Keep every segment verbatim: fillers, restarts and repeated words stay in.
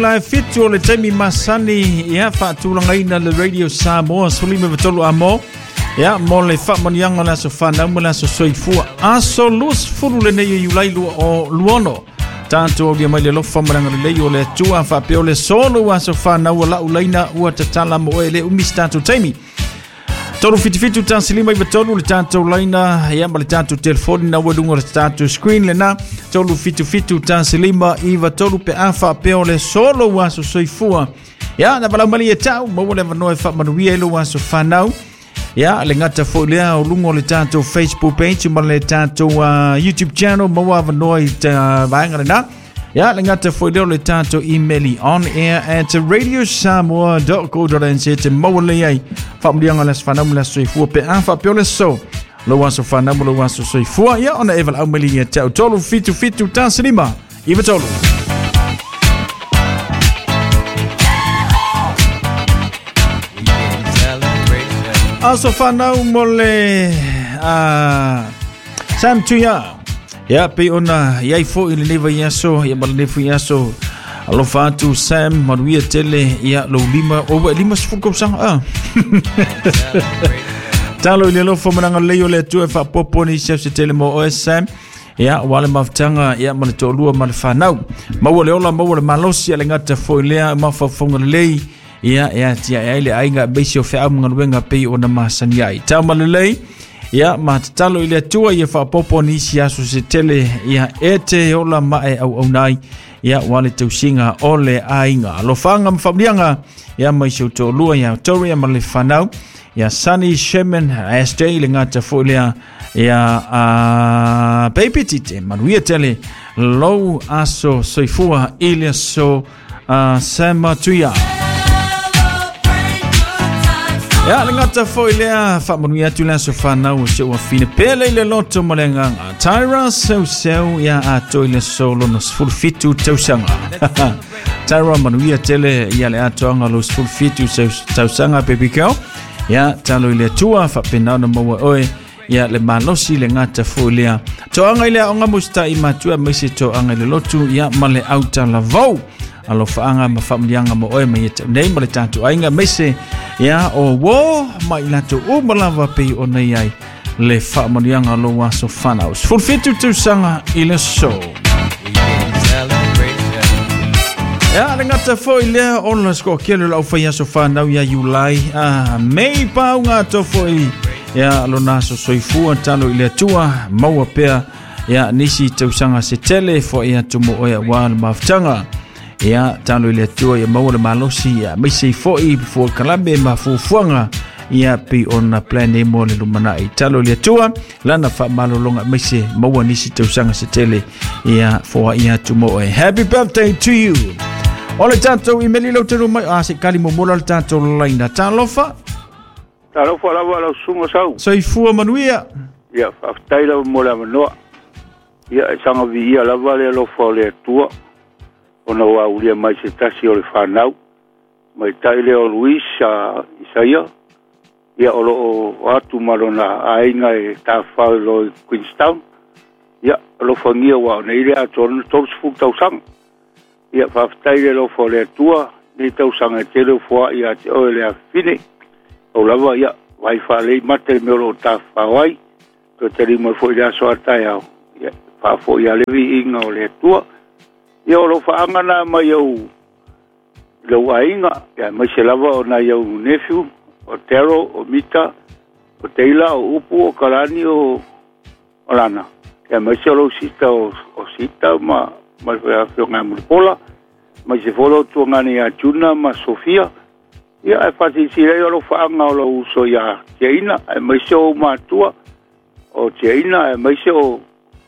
La fitu o le taimi masani ia faatulagaina le Radio Samoa sefulima ma tolu amo ia mo le faamanuiaga o le aso fanau ma le aso soifua aso luasefulu lenei o Iulai lua o luaono tatou aulia mai le alofa ma le agalelei o le Atua faapea o le solo aso fanau o lau laina ua tatala mo oe e le umi se tatou taimi. Tolu fitu fitu tasi lima iva tolu le tatou laina ia ma le tatou telefoni na ua luga o le tatou screen lena tolu fitu fitu tasi lima iva tolu pe a faapea o le solo ua aso soifua ia na valaau mai ia tau maua le avanoa e faamanuia i lou aso fanau ia le gata foi lea o luga o le tatou Facebook page ma le tatou uh, YouTube channel maua avanoa i ta vaega lena. Ia le gata foi lea o le tatou email on air at radio samoa dot co dot n z te maua lelei ai faamanuiaga o le aso fanau ma le aso soifua pe a faapea o le so lou aso fanau ma lou aso soifua ia ona e valaau mai ia te au tolu fitu fitu tasi lima iva tolu. Aso fanau mo le uh, Sam Tuia. Ia pe ona iai foi lenei vaiaso ia ma lenei foi aso alofa atu Sam manuia tele ia lou lima o ua e lima sefulu tausaga a. Talo i le alofa ma le agalelei o le Atua e faapopo nisi au se tele mo oe Sam. Ia ua le mafutaga ia ma le toalua ma le fanau. Maua le ola maua le malosi a le gata foi lea mafaufauga lelei ia e atiae ai le aiga aemaise o feau ma galuega pei ona masani ai. Tau ma lelei ia ma tatalo i le Atua ia faapopo nisi aso se tele ia e te ola ma e auauna ai ia ua le tausiga o le aiga. Alofaga ma faamanuiaga ia mai si ou toalua ia Toria ma le fanau ia Sunny Sherman S J le gata foi lea ia uh, Baby Tite manuia tele lou aso soifua i le aso uh, Sam Tuia. Ia le gata foi lea faamanuia atu le aso fanau o si ou afine pele i le loto ma le agaga Tyra Seuseu ia atoa i le aso lona sefulu fitu tausaga. Tyra manuia tele ia le atoaga lou sefulu fitu tausaga baby girl. Ia talo i le Atua faapena ona maua oe ia le malosi le gata foi lea toaga i le aoga musita'i matua aemaise toaga i le lotu ia ma le autalavou. Alofaaga ma faamanuiaga mo oe mai ia tau nei ma le tatou aiga aemaise ia o uō ma i latou uma lava pei ona iai le faamanuiaga o lou aso fanau. Sefulu fitu tausaga i le aso. Ia le gata foi lea ona sekoakele o le aufai aso fanau ia Iulai ah, Mei pauga atoa foi ia lona aso soifua talo i le Atua maua pea ia nisi tausaga se tele foai atu mo oe auā le mafutaga. Ia talo i le Atua ia maua le malosi ia aemaise foi fuakalame ma fuafuaga ia pei ona plan e mo le lumanai. Talo i le Atua lana faamalologa aemaise maua nisi tausaga se tele ia foai atu mo oe. Happy birthday to you. O le tatou imeli lau tenu mai a se kali momola le tatou laina. Talofa. Talofa lava lau susuga sau. Soifua manuia. Ia faafetai lava mo le avanoa. Ia e saga viia lava le alofa o le Atua ona ua aulia mai se tasi o le fanau. Maitai lea o Luis a Isaia. Ia o loo atu ma lona aiga e tafafao i lo i Queenstown. Ia alofagia ua o nei le atoa lona tolu sefulu tausaga. Ia faafetai le alofa o le Atua nei tausaga e tele o foa'i ia te oe le afafine. Pau lava ia vaai faalelei mata i le mea o loo tafafao ai. Toe taliu mai foi i le aso a taeao. Ia faafo'i ia le viiga o le Atua. Ia o lou faaga na mai au lou aiga ia aemaise lava o nai au nephew o Tero, o Mita, o Teila, o Upu, o Kalani, o o Lana. Ia aemaise o lou sita o, o Sita ma ma le afioga ia Mulipola, aemaise foi lou tuagane ia Juna ma Sofia. Ia ae faasilasila ai o lou faaga o lou uso ia Tiaina, aemaise o ou matua o Tiaina, aemaise o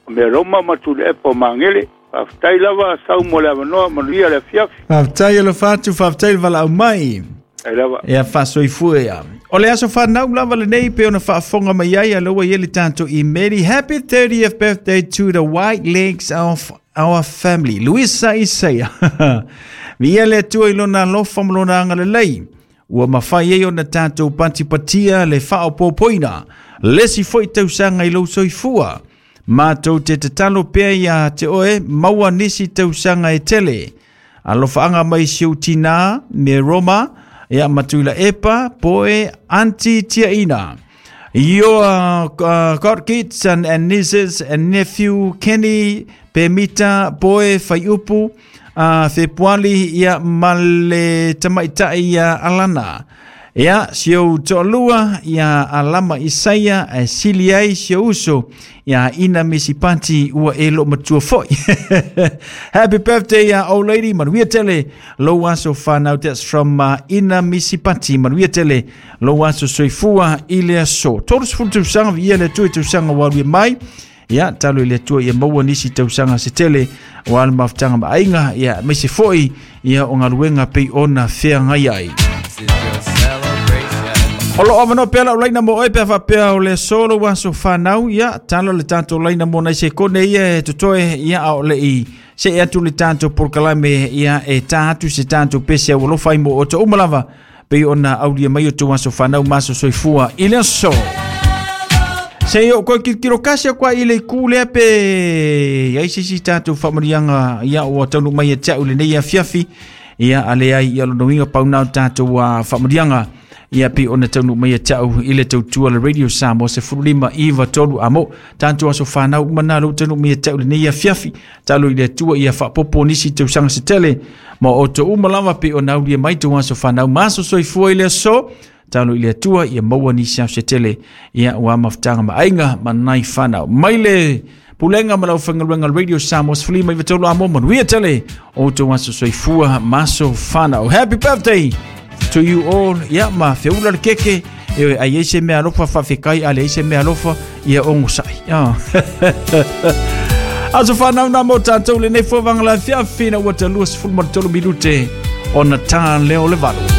Meroma ma Tuli'epa o Magele. Faafetai lava sau mo le avanoa, manuia le afiafi. Faafetai alofa atu, faafetai le valaau mai. Ai lava. Ia faasoifua ia. O le aso fanau lava lenei pe ona faafofoga mai ai aloa ia le tatou imeli. Happy thirtieth birthday to the white legs of our family. Luisa Isaia. Viia le Atua i lona alofa ma lona agalelei. Ua mafai ai ona tatou patipatia le faaopoopoina. Le isi foi tausaga i lou soifua. Matou te tatalo pea ia te oe maua nisi tausaga e tele. Alofaanga mai si ou tina me Roma, ia matuila epa poe anti tiaina. Your uh, uh, godkids and, and nieces and nephew Kenny Pemita Poe Faiupu uh, Fepuali ia male tamaitai ia Alana. Ia si ou to'alua ia Alama Isaia e sili ai si ou uso ia Ina Misipati ua e lo matua foi. Happy birthday uh, old lady, manuia tele lou aso fanau. That's from uh, Ina Misipati. Manuia tele lou aso soifua i le aso. Tolu sefulu tausaga viia le Atua i tausaga ua alu mai. Ia talo i le Atua ia maua nisi tausaga se tele ua le mafutaga ma aiga ia maise foi ia o galuega pei ona feagai ai. O lo avanoa pea lau laina mo oe pe faapea o le aso lou aso fanau, ia talo le tatou laina mo nai sekone ia e totoe ia a o le i se e atu le tatou polokalame ia e tā atu se tatou pese au alofa ai mo outou uma lava pei ona aulia mai o tou aso fanau ma aso soifua i le aso. Se i o koe kilokilo kasi kwa i le ku lea pe ai se isi tatou faamanuiaga ia ua taunuu mai ia te au lenei afiafi ia ale ai ia lona uiga pau na o tatou uh, faamanuiaga ia pei ona taunuu mai ia te au i le tautua le Radio Samoa sefulu lima iva tolu amo tatou aso fanau uma na lou taunuu mai ia te au lenei afiafi. Talo i le Atua ia faapopo nisi tausaga se tele ma outou uma lava pei ona aulia mai tou aso fanau ma aso soifua i le aso. Talo i le Atua ia maua nisi aso se tele ia ua mafutaga ma aiga ma nai fanau. Mai le pulega ma lau faigaluega Radio Samoa sefulu lima iva tolu amo, manuia tele outou aso soifua ma aso fanau. Happy birthday to you all. Ia ma feula le keke e ai ai se mea alofa faafekai a leai se mea alofa ia ogosai. Aso fanau na mo tatou lenei fovaga lafiafi na ua talua sefulu ma le tolu minute ona tā leo le valu.